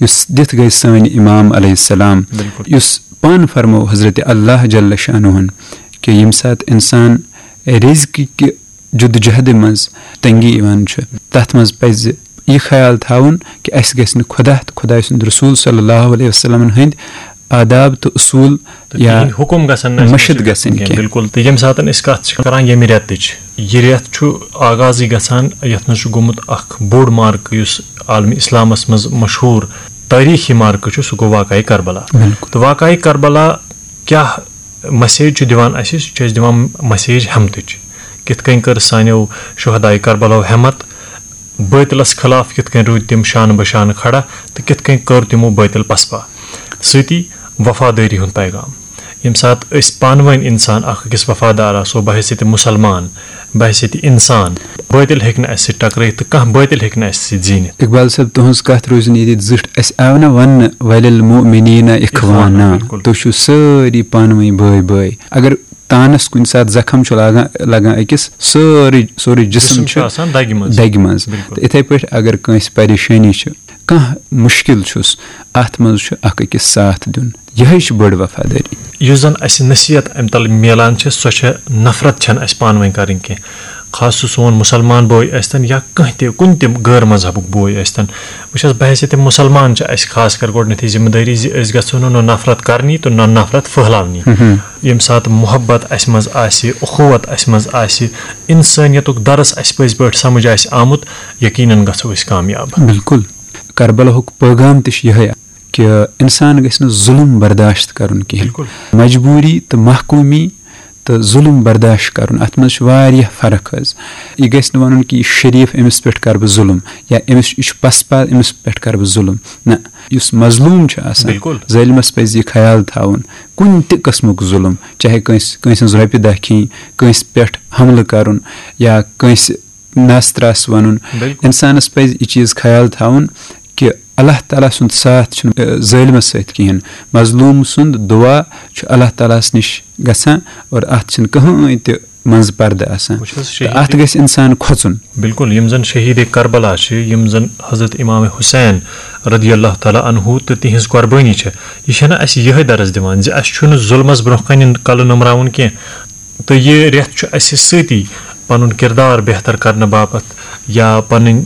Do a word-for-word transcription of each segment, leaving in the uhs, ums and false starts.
یُس دِتھ گٔے سٲنۍ امام علیہ السلام، بِلکُل۔ یُس پانہٕ فرمو حضرت اللہ جل شانہن کہِ ییٚمہِ ساتہٕ انسان رزقہٕ کہِ جدوجہدِ منٛز تنگی یِوان چھُ، تتھ منٛز پزِ یہِ خیال تھاوُن کہِ اسہِ گژھِ نہٕ خدا تہٕ خداے سُنٛد رسول صلی اللہ علیہ وسلمن ہٕنٛدۍ آداب تہٕ اصوٗل تہٕ یا تِہِنٛدۍ حُکُم گژھن نہٕ اَسہِ مٔشِتھ مٔشِتھ گژھٕنۍ کینٛہہ۔ بِلکُل۔ تہٕ ییٚمہِ ساتہٕ أسۍ کَتھ چھِ کَران ییٚمہِ رٮ۪تٕچ، یہِ رٮ۪تھ چھُ آغازٕے گژھان، یَتھ منٛز چھُ گوٚمُت اَکھ بوٚڑ معرکہٕ، یُس عالمِ اِسلامَس منٛز مشہوٗر تٲریٖخی معرکہٕ چھُ، سُہ گوٚو واقعہ کربلا۔ بِلکُل۔ تہٕ واقعہ کربلا کیٛاہ message چھُ دِوان اَسہِ؟ سُہ چھُ اَسہِ دِوان message ہٮ۪متٕچ۔ کِتھ کٔنۍ کٔر سانیو شہداے کربلاہو ہٮ۪مت، بٲطلس خلاف کِتھ کٔنۍ روٗدۍ تِم شانہٕ بہ شانہٕ کھڑا تہٕ کِتھ کٔنۍ کٔر تِمو بٲطل پسپا۔ سۭتی وفادٲری ہُنٛد پیغام۔ ییٚمہِ ساتہٕ أسۍ پانہٕ ؤنۍ انسان اکھ أکِس وفادار آسو، بحیثیت مسلمان، بحیثیت انسان، بٲطل ہیٚکہِ نہٕ اَسہِ سۭتۍ ٹکرٲیِتھ تہٕ کانٛہہ بٲطل ہیٚکہِ نہٕ اَسہِ سۭتۍ زیٖنِتھ۔ اقبال صٲب، تُہٕنٛز کتھ روزِ نہٕ ییٚتہِ زِٹھ۔ اسہِ آو نہ وننہٕ، "ولِلمؤمنین اخوانا"، بِلکُل۔ تُہۍ چھِو سٲری پانہٕ ؤنۍ بٲے بٲے۔ اگر تانس کُنہِ ساتہٕ زخم چھُ لاگان، لگان أکِس، سٲرٕے، سورُے جسم جسم چھُ چھُ آسان دگہِ منٛز۔ دگہِ منٛز۔ بِلکُل۔ تہٕ اِتھے پٲٹھۍ اگر کٲنٛسہِ پریشٲنی چھِ، کانٛہہ مُشکل چھُس، اتھ منٛز چھُ اکھ أکِس ساتھ دیُن۔ یِہے چھِ بٔڑ وفادٲری۔ یُس زن اَسہِ نصیحت امہِ تلہٕ میلان چھِ، سۄ چھےٚ نفرت چھنہٕ اَسہِ پانہٕ ؤنۍ کرٕنۍ کینٛہہ۔ خاص سُہ سون مُسلمان بوے ٲسۍتن یا کانٛہہ تہِ، کُنہِ تہِ غٲر مذہبُک بوے ٲسۍتن۔ وٕچھ حظ، بحیثیت مُسلمان چھِ اَسہِ خاص کر گۄڈٕنیتھٕے ذمہٕ دٲری زِ أسۍ گژھو نہٕ نہ نفرت کرنی تہٕ نہ نفرت پھٔہلاونی۔ ییٚمہِ ساتہٕ محبت اَسہِ منٛز آسہِ، اخوت اَسہِ منٛز آسہِ، انسٲنیتُک درس اَسہِ پٔزۍ پٲٹھۍ سمجھ آسہِ آمُت، یقیناً گژھو أسۍ کامیاب۔ بِلکُل۔ کربلاہُک پیغام تہِ چھُ یِہے کہِ انسان گژھِ نہٕ ظُلُم برداشت کرُن کِہیٖنۍ۔ بِلکُل۔ مجبوٗری تہٕ محکوٗمی تہٕ ظُلُم برداشت کرُن، اتھ منٛز چھُ واریاہ فرق حظ۔ یہِ گژھِ نہٕ ونُن کہِ یہِ شریٖف، أمِس پٮ۪ٹھ کرٕ بہٕ ظُلُم، یا أمِس، یہِ چھُ پسپا، أمِس پٮ۪ٹھ کرٕ بہٕ ظُلُم۔ نہ، یُس مظلوٗم چھُ آسان، بِلکُل۔ ظٲلمس پزِ یہِ خیال تھاوُن، کُنہِ تہِ قٕسمُک ظُلُم، چاہے کٲنٛسہِ، کٲنٛسہِ ہٕنٛز رۄپیہِ دہ کھیٚنۍ، کٲنٛسہِ پٮ۪ٹھ حملہٕ کرُن، یا کٲنٛسہِ ناستراس ونُن۔ بِلکُل۔ انسانس پزِ یہِ چیٖز خیال تھاوُن کہِ اللہ تعالیٰ سُنٛد ساتھ چھُنہٕ، اَ، ظٲلمس سۭتۍ کِہیٖنۍ۔ مظلوٗم سُنٛد دُعا چھُ اللہ تعالیٰ ہس نِش گژھان، اور اتھ چھُنہٕ کٕہٕنۍ تہِ منٛزٕ پردٕ آسان۔ وٕچھ حظ، تہٕ شہیٖد اتھ گژھِ انسان کھۄژُن۔ بِلکُل، یِم زن شہیٖد کربلا چھِ، یِم زن حضرت امام حسین رضی اللہ تعالیٰ عنہ تہٕ تِہنٛز قۄربٲنی چھِ، یہِ چھنہٕ اسہِ یِہے درس دِوان زِ اسہِ چھُنہٕ ظُلمس برونٛہہ کنہِ کلہٕ نوٚمراوُن کینٛہہ، تہٕ یہِ رٮ۪تھ چھُ اسہِ سۭتی پنُن کردار بہتر کرنہٕ باپتھ یا پنٕنۍ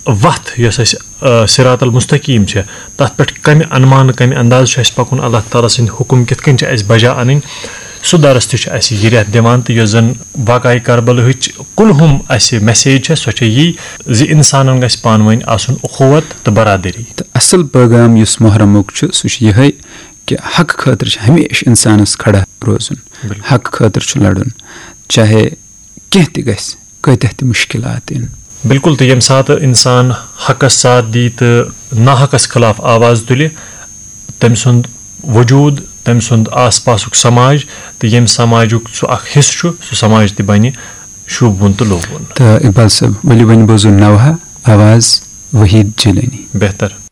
وتھ یۄس اسہِ، آ، صراط المستقیم چھِ، تتھ پٮ۪ٹھ کمہِ انمانہٕ، کمہِ اندازٕ چھُ اسہِ پکُن، اللہ تعالیٰ سٕنٛدۍ حُکم کِتھ کٔنۍ چھِ اسہِ بجا انٕنۍ، سُہ درس تہِ چھُ اسہِ یہِ رٮ۪تھ دِوان۔ تہٕ یۄس زن واقعہ کربلہٕچ کُلہُم اسہِ message چھےٚ، سۄ چھےٚ یی زِ انسانن گژھِ پانہٕ ؤنۍ آسُن اخوت تہٕ برادری۔ تہٕ اصل پیغام یُس محرمُک چھُ، سُہ چھُ یِہے کہِ حق خٲطرٕ چھُ ہمیشہِ انسانس کھڑا روزُن، بِلکُل۔ حق خٲطرٕ چھُ لڑُن، چاہے کینٛہہ تہِ گژھِ، کۭتیاہ تہِ مُشکلات یِن۔ بِلکُل، تہٕ ییٚمہِ ساتہٕ اِنسان حقس ساتھ دی تہٕ ناحقس خلاف آواز تُلہِ، تٔمۍ سُنٛد وجوٗد، تٔمۍ سُنٛد آس پاسُک سماج تہٕ ییٚمہِ سماجُک سُہ اکھ حصہٕ چھُ، سُہ سماج تہِ بنہِ شوٗبوُن تہٕ لوٗبوُن۔ تہٕ اقبال صٲب، ؤلِو وۄنۍ بوزو نوحہ آواز وحید جیلانی۔ بہتر۔